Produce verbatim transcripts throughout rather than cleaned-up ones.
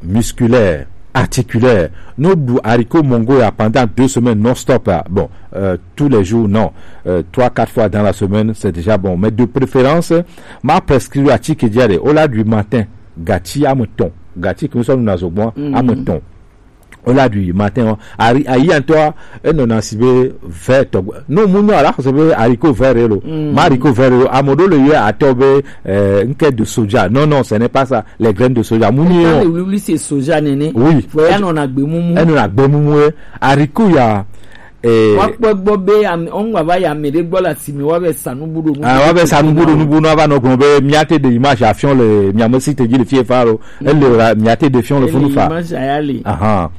musculaire, articulaire. Nous du haricot mongo ya pendant deux semaines non-stop, hein. Bon, euh, tous les jours, non. Euh, trois, quatre fois dans la semaine, c'est déjà bon. Mais de préférence, ma prescrire à Tchik Diare, au la du matin, gati à mouton. Gati, comme ça, nous n'avons moins, à mouton. Au la du matin, hein. Ari, ayi, en toi, et non, en sibé, vert, non, mouno, alors, c'est haricot vert, là. Ma haricot vert, là. À mon dos, le yeux à tomber, euh, une quête de soja. Non, non, ce n'est pas ça. Les graines de soja. Mouno. Eta le wuli wuli se soja nene. Oui. Fo ya nɔ na gbe mumu. Eno na gbe mumu e. Ariku ya. Eh. Wa kpɔ gbɔ be ame, ɔn wa va ya ame ɖe gbɔ le asime wa be sanu bu ɖo nu. Ah, wa be sanu bu ɖo nu bu nu ava nɔ gblɔ be mia te de image afiɔn le mia me si te dzi le fie fa lo. Ele ra mia te de fiɔn le funu fa. Image aya le. Aha.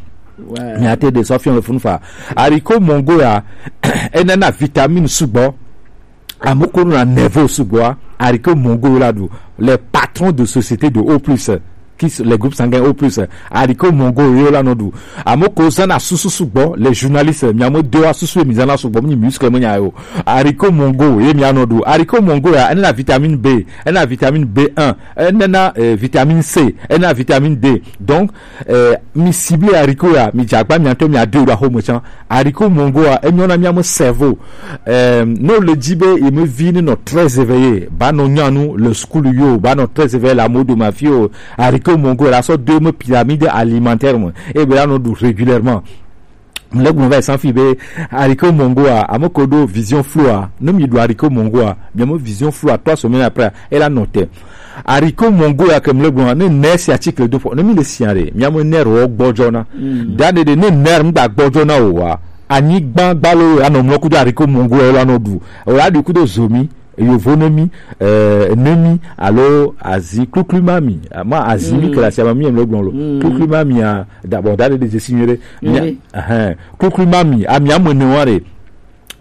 Ouais. Mia te de sɔ fiɔn le funu fa. Ariku mongo ya. Enana vitamine sugbɔ. Amoko na nerveux sugbɔ, haricot mongo la du. Les patrons de société de O plus, qui s-, les groupes sanguins O plus, haricot mongo yo la no du. Amoko zana susu sugbɔ, les journalistes, mi amo dewa susu mi zana sugbɔ, mi muscle mo nya yo. Haricot mongo, ye mi ano du. Haricot mongo ya, ena vitamine B, ena vitamine B un, ena, eh, vitamine C, ena vitamine D. Donc, eh, mi cible haricot ya, mi jagba mi anto mi adu la homo chan. Haricot mongo a, enyo na miamu cerveau. Euh, no le dit be, il me vit no très éveillé. Ba no nyanu, le school yo, ba no très éveillé, la mode ma fille, haricot mongo, la sorte de me pyramide alimentaire, moi. Et ben là, nous régulièrement. Le gouvernement va sans fiber, haricot mongo a, amo kodo vision floue a, no mi do haricot mongo a, bien mo vision floue a, trois semaines après, elle a noté. Haricot mongo ya ke mle gbɔn ne nɛ si article do fɔ ne mi le si are mi amo nɛ ro gbɔjɔ na. Da de de ne nɛ mi gba gbɔjɔ na o wa. Anyi gba gba lo ya no mlo kudo haricot mongo ya la no du. O la du kudo zomi, yovo ne mi, eh, ne mi, alo azi kluklu ma mi. Ma azi mi ke la si ama mi mle gbɔn lo. Kluklu ma mi a, da bon, da de de je signere. Mi a, eh, kluklu ma mi, a mi amo ne wa re.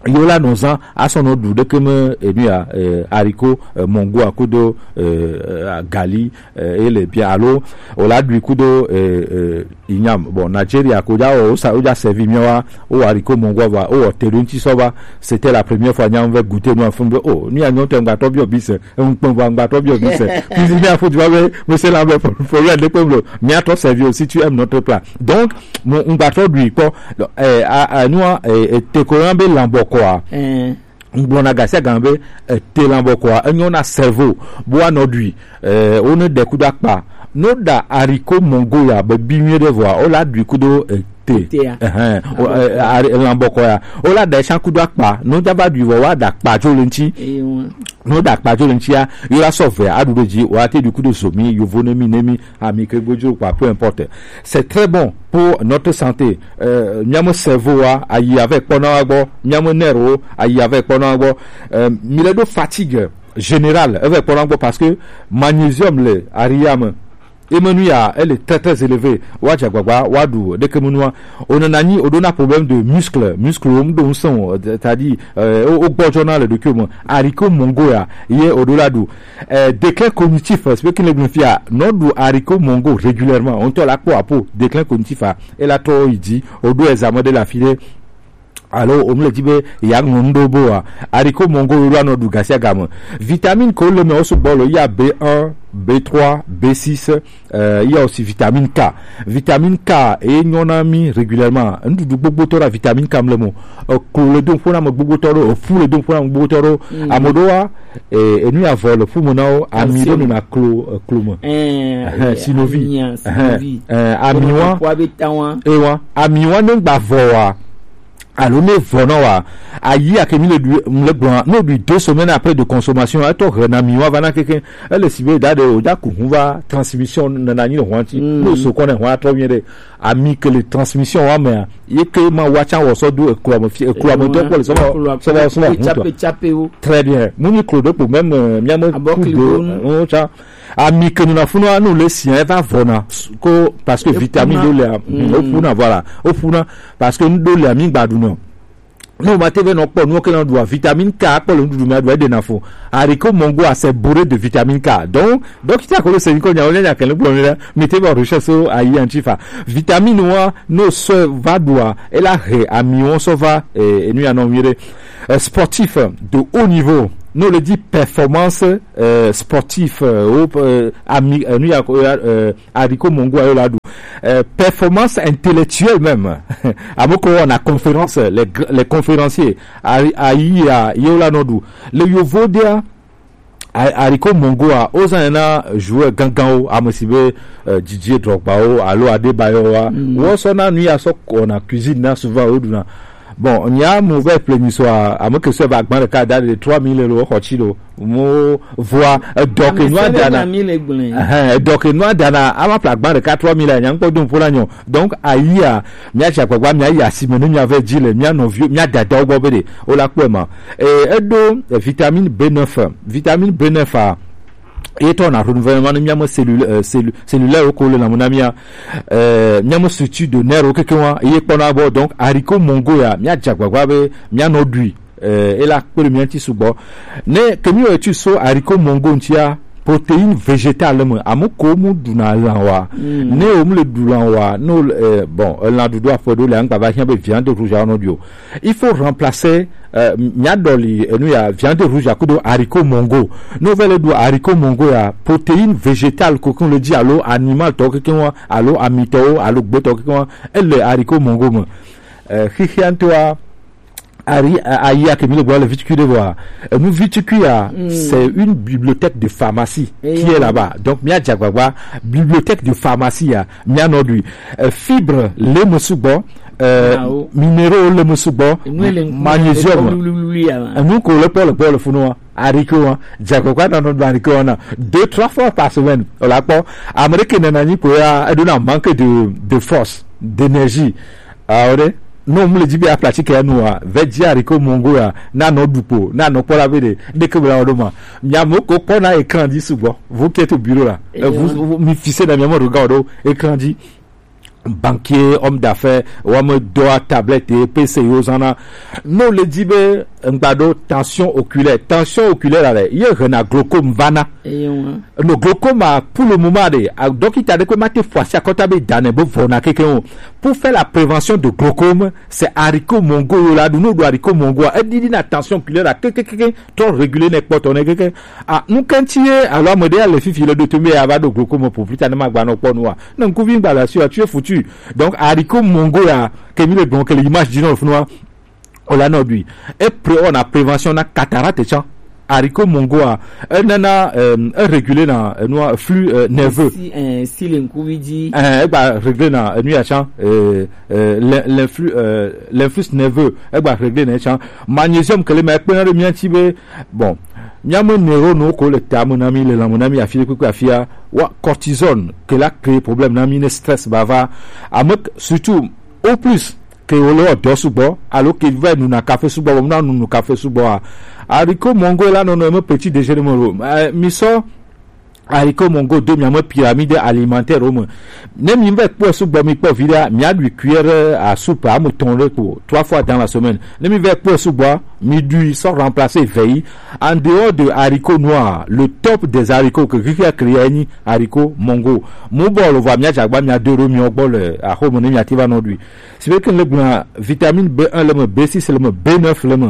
Yo la nɔ zan asɔ nɔ du ɖeke me enu ya, eh, haricot, eh, mongo a kudo, eh, eh, gali, eh, ele bien alo o la du kudo, eh, eh, inyam. Bon, Nigeria ko ja o sa o ja servi mi wa o haricot mongo va o te do nti so va. C'était la première fois nyam ve goûter no afun be o ni anyo te ngba to bi obise. Ŋkpɔn va ŋgbatɔ bi obi se. Kuzi mi afɔ ti va be, me se la be, fo, fo, ya de kpɔ blo. Mi atɔ servi aussi, tu aimes notre plat. Donc, mo ŋgbatɔ du kpɔ. Eh, a, a, nua, eh, eh, te ko yan be lambɔ kɔa. Eh. Ŋgblɔ na gasia gan be, eh, te lambɔ kɔa. Enyo na cerveau. Bo anɔ du. Eh, o ne de kudo akpa. No da haricot mongo ya be bi mi de voa. O la du kudo, eh, te. Te ya. Ɛhɛn. O, ɛ, ari-, lambɔ kɔ ya. O la da esan kudo akpa. No java du vɔ wa da akpa jo le ŋti. Ewa. No da akpa jo le ŋti ya. Yo la sɔ vɛ a du do ji. Wa te du kudo zomi. Yovo ne mi ne mi. Ami ke gbojo kwa, peu importe. C'est très bon pour notre santé. Euh, miamo cerveau wa, ayi avec kpɔna wa gbɔ. Miamo nerf wo, ayi avec kpɔna wa gbɔ. Euh, mi le do fatigue générale avec kpɔna wa gbɔ parce que magnésium le ariya me. Emenu ya, elle est très, très élevée. Wa dza gbagba, wa du, ɖeke menu wa. O nana nyi, o ɖona problème de muscle, muscle, o mu ɖo ŋusẽ o, c'est-à-dire, euh, o, o gbɔdzɔ na le ɖokuiwo me. Haricot mongo ya, ye o ɖo la du. Euh, déclin cognitif, c'est ce que le fia, no du haricot mongo régulièrement. On te la kpɔ apo, déclin cognitif a, e la tɔ yi dzi, o ɖo examen de la file. Alo, o mu le di be, ya ŋlɔ nu ɖo bo wa. Haricot mongo yo la no du gasia game. Vitamine ko le me o sugbɔ lo, il y a B un, B trois, B six, euh, il y a aussi vitamine K. Vitamine K, e nyɔ na mi régulièrement. Nuɖuɖu gbogbo tɔ la vitamine K mle mo. Euh, klo le don fo na me gbogbo tɔ ɖo, euh, fu le don fo na me gbogbo tɔ ɖo. Mm. Ame ɖo wa, eh, enu ya vɔ le fu me na wo, ami ɖo nɔ na klo, eh, klo me. Eh, eh, sinovi. Ami ya, sinovi. Eh, eh, ami wa. Kpo abe ta wa. E wa, ami wa ne gba vɔ wa. Alo ne vɔ na wa, ayi ake mi le du, mi le gblɔ, ne o du deux semaines après de consommation, etɔ he na mi wa va na keke, ele si be da de o ja ku hu va transmission na na nyi le hwan ti, mm, no so kɔ ne hwan trɔ mi de, ami ke le transmission wa me, ye ke ma wa tsa wɔ sɔ do eklo ame fi, eklo ame do kpɔ le sɔ va, sɔ va, sɔ va hu tɔ. Très bien. Mu ni klo do kpo même, euh, mi ame ku do, euh, tsa. Ami ke nuna funu anu le si eva vɔna ko parce que vitamine do le, mm, o funa, voilà, o funa parce que do le ami gba du no. No ma te ve no kpɔ nu ke na du vitamine K kpɔ le nuɖuɖu me du e de na fo. Haricot mongo a c'est bourré de vitamine K. Donc, donc tu as connu c'est une cogne on a qu'elle le blonde mais te va recherche so ayi antifa. Vitamine wa no so va dua et la he ami on so va et, et nous en mire. Euh, sportif de haut niveau. Nous le dit performance euh, sportive euh, au euh, ami euh, nous y a euh, haricot mongo ayo la du euh, performance intellectuelle même. Amoko on a conférence les gr- les conférenciers ayi a yo la no du le yovo dia haricot mongo a ozan na joueur gangan o amesibe euh, Didier Drogba o alo Adebayor wa wo so na nu ya so on a cuisine na souvent o du na. Bon, nya mauvais plenisoir, à moins que ce va agban le cas de trois mille euros, hotilo. Mo voix, euh, donc, nous a dana. Euh, donc, nous a dana, à ma plaque ban le cas trois mille, nya ko dum pour l'agnon. Donc, aïe, mia jakwa, mia ya, si menu, mia ve dile, mia non vieux, mia dada, au gobe, au la, quoi, ma. Et, euh, do, euh, vitamine B neuf, vitamine B neuf, a, et on a renouvellement, mia mo cellule, euh, cellule, cellulaire, au colo, la, mon ami, euh, mia mo structure de nerf, au, quelque, ye, pendant, bon, donc, haricot, mongo, ya, mia jakwa, be, mia no dui, euh, et la, pour le mien, ti, sous, bon. Ne, que mieux, tu so, haricot, mongo, tia, protéine végétale, mo, amu, komu, duna, lanwa. Ne, om, le, du, lanwa, no, euh, bon, euh, la, du, doit, faut, le, anga, va, hien, be, viande rouge, a, no, dio. Il faut remplacer euh, mia doli euh, nous y a viande rouge à coup de haricot mongo. Nous vele du haricot mongo ya protéine végétale kokon le dit alo animal to kokon alo amito alo gbe to kokon et le haricot mongo mo. Euh, hihianto a ari ayi a kemi le boire le viticule de voir. Euh, nous viticule a c'est une bibliothèque de pharmacie qui est là-bas. Donc mia diagbagba bibliothèque de pharmacie ya mia nodui. Euh, fibre le mo subo euh, minéraux le mo sugbɔ magnésium enu ko le pɔ le pɔ le funu wa ariko wa jakɔkɔ na nɔ do ariko wa na deux trois fois par semaine o la kpɔ amérique nana nyi ko ya edo na manque de de force d'énergie awo de no mu le dzi be aplatike ya nu wa vɛ dzi ariko mongo ya na nɔ dukpo na nɔ kpɔ la be de de ke bla wo do ma mia mo ko kpɔ na écran dzi sugbɔ vous qui êtes au bureau là euh, vous, vous mi fixez na mia mo regard do écran dzi banquier, homme d'affaires, homme d'or, tablette et P C yo zana. Non, le dit be ngbado tension oculaire. Tension oculaire là, il y a un glaucome vana. No glaucome pour le moment de. Donc il t'a dit que ma te fois si à côté be dane be vona quelqu'un. Pour faire la prévention de glaucome, c'est haricot mongo yo la, nous doit haricot mongo. Elle dit la tension oculaire là, que que que que trop régulier n'est pas ton que que. Ah, nous quand tu es alors modèle le fifi le de tomber à va de glaucome pour plus tard ne m'a pas non. Na nkuvi ngba la sio tu es foutu. Donc haricot mongo ya kemi le donc l'image du nord fnoir. On l'a nodui. Et pre on a prévention na cataracte chan. Haricot mongo a un nana euh, un régulé na euh, noir flux euh, nerveux. Si un si le nkuvi dit. Eh, e ba régler na euh, nuit chan euh, euh, l'in- l'influx euh, l'influx nerveux e ba régler na chan magnésium que le mec peut na de mien tibe bon. Miamwe neuro no ko le tamu na mi le lamu na mi afile kwe afia wa cortisone que la créé problème na mi ne stress bava amek surtout au plus que o le odo sugbɔ alo que va nu na café sugbɔ bɔ na nu nu café sugbɔ a haricot mongo la non non petit déjeuner mo mi so haricot mongo de miamwe pyramide alimentaire o me ne mi va kpɔ sugbɔ mi kpɔ vida mi a lui cuillère à soupe à me ton le ko trois fois dans la semaine ne mi va kpɔ sugbɔ mi dui sans remplacer veille en dehors de haricots noirs le top des haricots que Ricky a créé ni haricot mongo mo bɔ le va mi a jagba mi a deux mi o gbɔ le a home ne mi a tiva non lui c'est vrai que le gna vitamine B un le me B six le me B neuf le me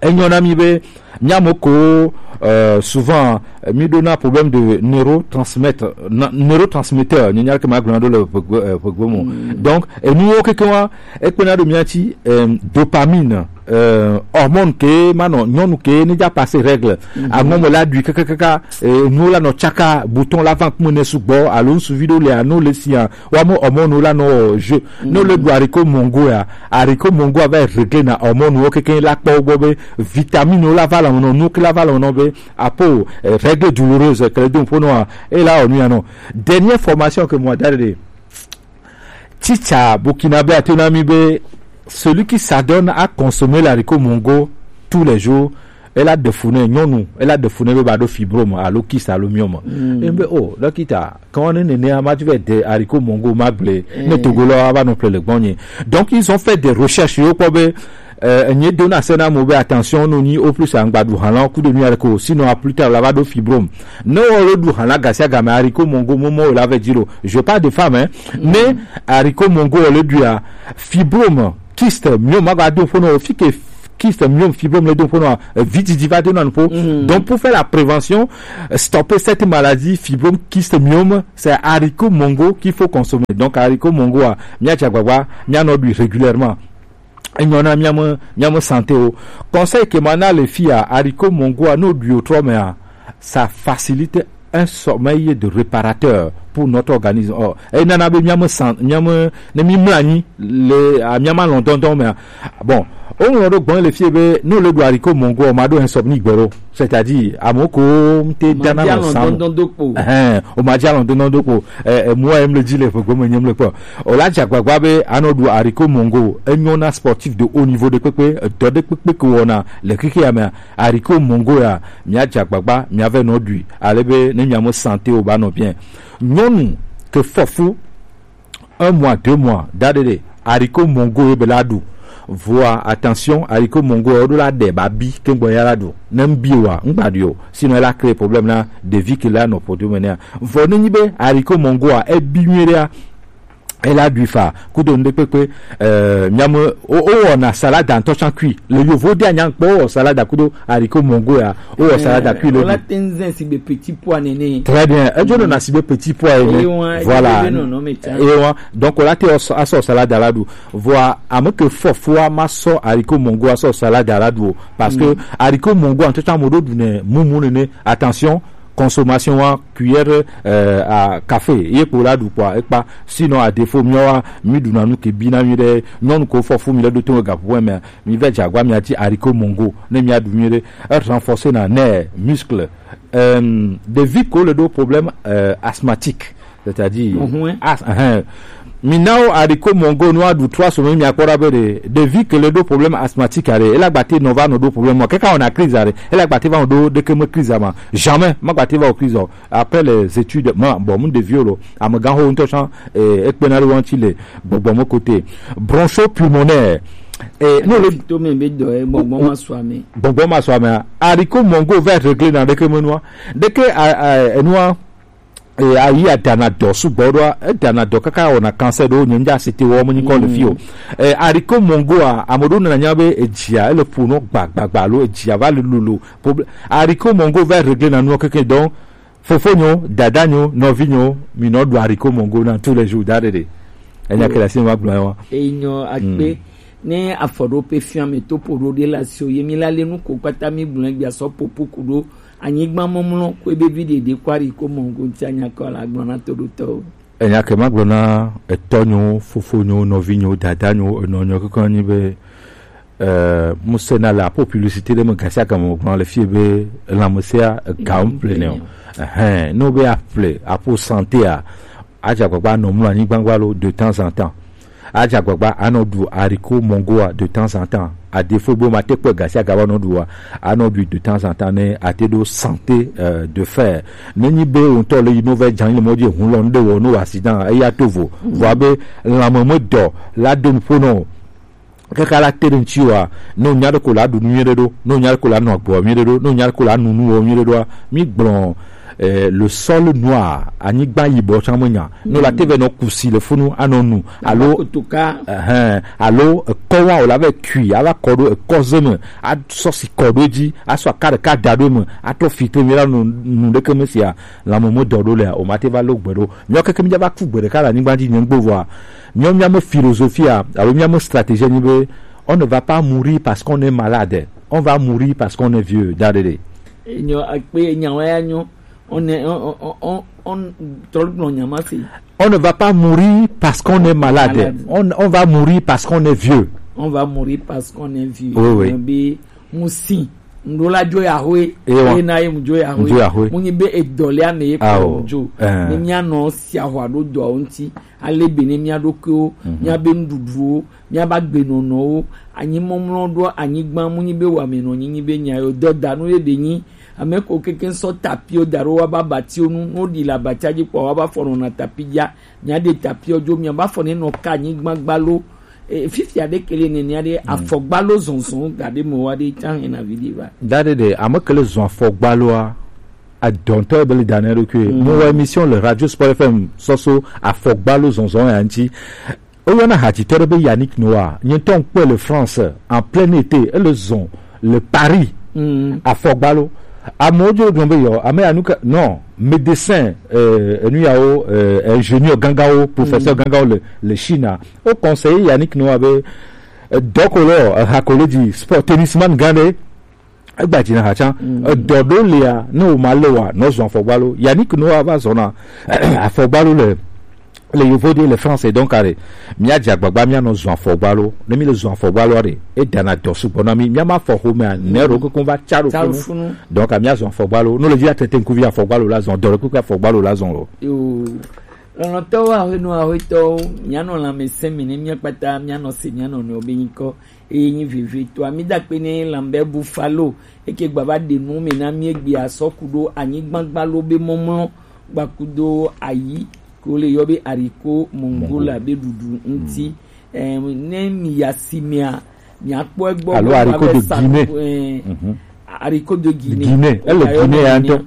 enyo na mi be miamo ko euh, souvent mi dona problème de neurotransmettre neurotransmetteur ni nyar ke ma gblona do le pegbo mo donc et nous o keke wa e pe na do mi ati euh, dopamine euh, hormone ke mano nyɔnu ke ne ja passer règle amomo la du kaka kaka nous la no chaka bouton la vente mo ne sugbɔ alo suvi do le ano le sia wa mo hormone la no je no le du haricot mongo ya haricot mongo va régler na hormone wo keke la kpɔ gbɔ be vitamine la va la no nu ke la va la no be apo euh, règle douloureuse que le don pono e la onu ya no dernière formation que moi dade teacher burkinabé a tenu à mi be celui qui s'adonne à consommer l'haricot mongo tous les jours elle a défouné nyɔnu elle a défouné be ba do fibrome alo kyste alo myome e be oh dokita quand on est né à ma tu vas de haricot mongo ma blé ne togolo a ba non plus le gbonye donc ils ont fait des recherches yo ko be euh, enye dona sena mo be attention no ni au plus angba du hala coup de nuit ko sinon à plus tard la va do fibrome no o le du hala gasia game haricot mongo momo la va dire je parle de femme hein mais haricot mongo le du a fibrome kyste myome ma ga do fono fi ke Kyste, myome, fibrome, le do ƒo nɔ, euh, vididi va de nɔ nuƒo. Donc, pour faire la prévention, euh, stopper cette maladie, fibrome, kyste, myome, c'est haricot mongo qu'il faut consommer. Donc, haricot mongo a, mia dza gbagba, mia nɔ ɖui régulièrement. Enyo na mia me, mia me santé o. Conseil que mana le fia, haricot mongo a, no ɖui o trɔ mea, ça facilite un sommeil de réparateur pour notre organisme. Oh, et nana be mia me san, mia me, ne mi mla anyi le, a, mia ma lɔn dɔndɔn mea. Bon, o ŋlɔ ɖo gbɔn le fie be, no le ɖu haricot mongo, ma ɖo insomnie gbɛ ɖo. C'est-à-dire, amo ko mte dana no san. Dɔndɔn do kpo. Ɛhɛn, o ma dza lɔn dɔndɔn do kpo. Eh, eh, mua em le dzi le ƒe gome nyem le kpɔ. O la dza gbagba be, anɔ ɖu haricot mongo, enyo na sportif de haut niveau ɖe kpekpe, edɔ ɖe kpekpe ke wɔna le xexea mea, haricot mongo ya, mia dza gbagba, mia vɛ nɔ ɖui. Ale be, ne mia me santé o ba nɔ bien. Nyɔnu ke fɔ fu, un mois, deux mois, da ɖe ɖe, haricot mongo ye be la ɖu. Voa, attention, haricot mongo, o ɖo la ɖe ba bi, ke gbɔ ya la ɖu. Ne n bi wa, n gba ɖui o. Sinon, e la créer problème na ɖevi ke la nɔ ƒodo me nea. Vɔ ne nyi be, haricot mongo a, e bi nyuie ɖea, e la ɖui fa, kudo nu ɖe kpekpe, euh, mia me, o, o wɔna salade ŋutɔ tsã kui. Le yovo de anya kpɔ, o wɔ salade kudo haricot mongo ya, o wɔ salade kui le ɖu. Ola te nzen si be petit pois nene. Très bien. Edzo nɔna si be petit pois ene. Eye wa, voilà. Eye be nɔnɔ me tsã. Eye wa. Donc, ola te o sɔ, asɔ salade la ɖu. Vɔa, ame ke fɔ fua ma sɔ haricot mongo asɔ salade la ɖu o. Parce que haricot mongo ŋutɔ tsã mo ɖo ɖu ne mumu nene. Attention, consommation wa cuillère, euh, à café ye kpo la ɖu kpɔa ekpa. Sinon, à défaut, miawa mi ɖuna nu ke bi na mi ɖe. Nyɔnu ko fɔ fu mi ɖe ɖo to gaƒoƒo me, mi vɛ dza gba mia ti haricot mongo ne mia ɖu mi ɖe. E renforcer na ne muscle. Euh, ɖevi ko le ɖo problème, euh, asthmatique. C'est-à-dire, as-, ɛhɛn. Mi na wo haricot mongo nua ɖu trois semaines, mi akpɔ ɖa be ɖe, ɖevi ke le ɖo problème asthmatique aɖe, e la gba te nɔ va nɔ ɖo problème ma. Kaka wɔna crise aɖe, e la gba te va nɔ ɖo ɖeke me crise ma. Jamais, ma gba te va wɔ crise o. Après les études, ma, bon, mu ɖevi o lo, amegã ho ŋutɔ tsã, eh, ekpena ɖe wo ŋuti le gbɔgbɔ me côté. Bronchopulmonaire. Eh, no le to me be dɔ, eh, gbɔgbɔ ma sɔ ame. Gbɔgbɔ ma sɔ ame. Haricot mongo va régler na ɖeke me nua. Ɖeke, a, a, enua, e, ayi adana dɔ sugbɔ ɖoa, edana dɔ kaka wɔna cancer ɖo, nye ŋdza site wɔ me nyikɔ le fi o. E, haricot mongo a, ame ɖewo nana nya be edzia, ele ƒo nɔ gbagbagba alo edzia va le lolo. Proble-, haricot mongo va régler na nua keke. Donc, fofonyo, dadanyo, nɔvinyo, mi nɔ ɖu haricot mongo na tous les jours, da ɖe ɖe. Enya ke le asi ma gblɔ wa. Enyo akpe. Ne afɔɖoƒe fia me to ƒo ɖo ɖe le asi o, ye mi la le nu ko kpata mi gblɔ gbia sɔ popo ku ɖo anyigba mɔmlɔ ko ebe vi ɖeɖe ko haricot mongo ŋuti anya kɔ la gblɔ na toɖotɔwo. Enya ke ma gblɔ na etɔnyo, fofonyo, nɔvinyo, dadanyo, enɔnyo keke nyi be, eh, musena le apo publicité ɖe me gasiagame gblɔ le fie be lãmesea ega ŋu ple ne o. Ɛhɛn, ne wo be aƒle apo santé a, adze agbagba nɔ mlɔ anyigba gba lo de temps en temps. Adze agbagba anɔ ɖu haricot mongoa de temps en temps. À défaut be ma te kpɔ gasiagame nɔ ɖua, anɔ ɖui de temps en temps ne ate ɖo santé, euh, de fer. Ne nyi be wo ŋutɔ le yi no vɛ dza le mɔ dzi hun lɔ nu ɖe wɔ no accident eya to vo. Vɔ abe lãme me dɔ la do nuƒo nɔ o. Kaka la te ɖe ŋuti wa, ne wonya ɖe ko la ɖu nu nyuie ɖe ɖo, ne wonya ɖe ko la nɔ agboa nyuie ɖe ɖo, ne wonya ɖe ko la nu nuwo nyuie ɖe ɖoa, mi gblɔ, eh, le sol noir, anyigba yibɔ tsã me nya. Ne la te vɛ nɔ kusi le funu anɔ nu, alo kotoka. Ɛhɛn, alo ekɔ wa o la vɛ kui, ava kɔ ɖo ekɔ ze me, asɔ si kɔ ɖo edzi, asɔ aka ɖeka da ɖo eme, atrɔ filtre mi la nu, nu ɖeke me sia, lãme me dɔ ɖo lea, o ma te va lo gbe ɖo. Miɔ keke mi dza va ku gbe ɖeka le anyigba dzi nye ŋgbo vɔa, Miawo mía me philosophie a, alo mía me stratégie nyi be, on ne va pas mourir parce qu'on est malade. On va mourir parce qu'on est vieux. Da ɖe ɖe. Enyo akpe nyawo ya nyo. On est, on, on, on, on, trɔ gblɔ nya ma se. On ne va pas mourir parce qu'on est malade. Malade. On, on va mourir parce qu'on est vieux. On va mourir parce qu'on est vieux. Oui, oui. Be mu si, ŋɖo la dzo ya hoe. Ewa. Eye na ye mu dzo ya hoe. Mu dzo ya hoe. Mu nyi be edɔ le ame ye kɔ mu dzo. Eh. Ne mía nɔ sia hwa ɖo dɔawo ŋuti, ale be ne mía ɖokuiwo, míabe nuɖuɖuwo, míabe agbenɔnɔwo, anyimɔmlɔ ɖo anyigba mu nyi be wamenɔ nyi nyi be nya yo dɔdanu ye be nyi. Ame ko keke sɔ tapiwo da ɖo wa ba batiwo nu, no ɖi le abatia dzi kpɔ wa ba fɔ nɔna tapi dzia. Mía ɖe tapiɔ dzo, mía ba fɔ ne nɔ ka anyigba gbalo. E, fifia ɖe kele nenia ɖe afɔgbalo zɔnzɔn ga ɖe me wa ɖe ta hena vi ɖe va. Da ɖe ɖe, ame kele zɔn afɔgbaloa, adɔntɔ ebe le da ne ɖokui. Mo wa émission le Radio Sport F M sɔso afɔgbalo zɔnzɔn ya ŋuti. Woyɔna hadzitɔ ɖe be Yannick Noah. Nye ŋutɔ ŋkpɔe le France, en plein été, ele zɔn le Paris. Mm. Afɔgbalo. Amewo dzo gblɔ be yɔ, ame ya nu ka, non, médecin, euh, enu yawo, euh, ingénieur gangawo, professeur gangawo le, le Chine. O conseiller Yannick Noah be, euh, dɔkolo, euh, hakolo di sport, tennisman gã ɖe, egba dzi na ha tsã. Mm. Edɔ ɖo lia, ne wo ma le wa, nɔ zɔn afɔgbalo. Yannick Noah va zɔna afɔgbalo le, le yovo de le France, donc are, mía dze agbagba mía nɔ zɔn afɔgbalo. Ne mi le zɔn afɔgbalo are, e dana dɔ sugbɔ na mi. Mía ma fɔ xome a, ne ro koko va tsa ɖo funu. Donc a mía zɔn afɔgbalo. No le dzi atete ŋkuvi afɔgbalo la zɔn, dɔ ɖe koko afɔgbalo la zɔn lo. Yo. Lɔlɔ̃tɔwo, aƒenɔ, aƒetɔwo, mía nɔ lãmesẽ mi ne mía kpata mía nɔ se mía nɔnɔewo be nyikɔ. Eye nyi vevitɔa, mída akpe nɛ Lambert Buffalo, eke gba va ɖe nu me na mí egbe asɔ ku ɖo anyigbagbalo be mɔmlɔ gbakudo ayi ke wole yɔ be ariko mongola be ɖuɖu ŋuti. Em, ne mi ya si mea, miakpɔ egbɔ alo be ariko de Guinée. Em, ariko de Guinée. Guinée, ele Guinée ya ŋutɔ.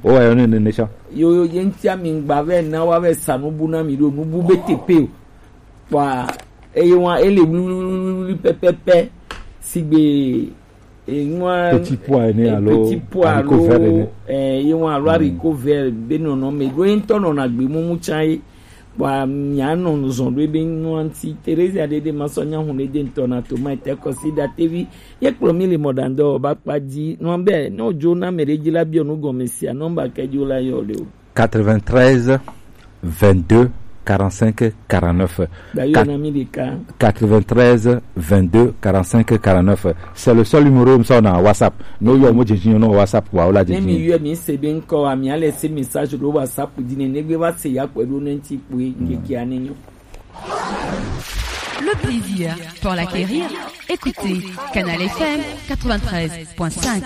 Woyɔ nɛ nene tsã. Yo, yo, ye ŋutia mi ŋgba vɛ na wa vɛ sa nubu na mi ɖo nubu be tepe o. Kpɔa, eye wa ele wluwluwluwlui pɛpɛpɛ, sigbe, e, nua, petit pois ene, e, alo petit pois haricot vert ene. E, ye wa alo haricot vert be nɔnɔ me ɖo ye ŋutɔ nɔna gbe mumu tsã ye. Kpɔa, mia nɔ zɔn ɖo ebe nua ŋuti. Theresia ɖeɖe ma sɔ nya hun ɖe de ŋutɔ na toma ete kɔsi ɖa tevi. Ye kplɔ mi le mɔɖaŋdɔ ba kpa dzi. Nua be, ne o dzo na me ɖe dzi la biɔ nu gɔme sia, nɔmba ke dzo la yɔ le o. Quatre-vingt-treize, vingt-deux, quarante-cinq, quarante-neuf. D'ailleurs, Quat-, na mi ɖeka. Quatre-vingt-treize, vingt-deux, quarante-cinq, quarante-neuf. C'est le seul numéro, mi sɔ na WhatsApp. No yɔ mo dzi dzi no WhatsApp wa, o la dzi dzi. Ne mi yɔ mi se be ŋkɔ wa, mi ale se message ɖo WhatsApp dzi ne, ne gbe va se ya kpɔe ɖo ne ŋuti kpɔe, ŋkeke ane nyo. Le plaisir pour l'acquérir. Écoutez Canal F M quatre-vingt-treize point cinq.